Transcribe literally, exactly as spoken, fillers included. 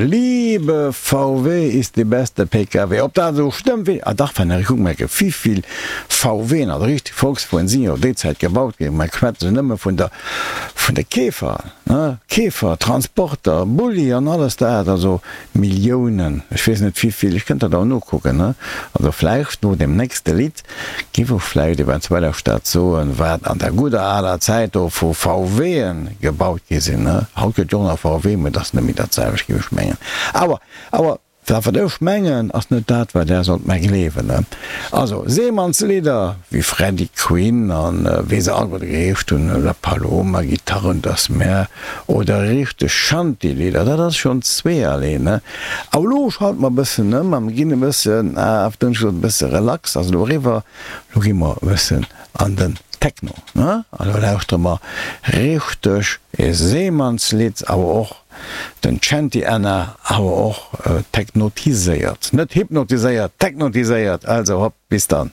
Liebe V W ist die beste P K W. Ob dat esou stëmmt, wee. Ah dach, wann ech kucken, merke wivill V W'en, also richteg Volkswueren, sinn jo déi Zäit gebaut ginn. Mer schwätzen nëmme vun der, vun de Käfer, ne, Käfer, Transporter, Bulli an alles dat, also Milliounen, ech weess net wivill, ech kënnt dat awer nokucken, ne. Also vläicht no dem nächste Lidd giff ech vläicht eventuell och dat soen, wat an der gudder aler Zäit do vu V W'en gebaut gi sinn, ne. Haut gëtt jo och nach V W, mä et ass net méi dat selwecht, giff ech mengen. Awer, awer dat wat ech mengen, ass net dat wat Där sollt mer gleewen, ne. Also Seemannslieder wéi Freddy Quinn an wéi se alleguerte geheescht hunn, La Paloma, Gitarre und das Meer oder richteg Shanty-Lieder, dat ass schonn zweeërlee, ne. Awer elo schalte mer e bëssen ëm a mir ginn e bëssen, ah, auf Dënsch gesot, e bësse relax, ass elo eriwwer, elo gi mer e bëssen an den Techno, ne. An elo lauschtere mer richteg e Seemannslidd, awer och den Shanty Anna, awer och technotiséiert, net hypnotiséiert, technotiséiert. Also hopp, bis dann.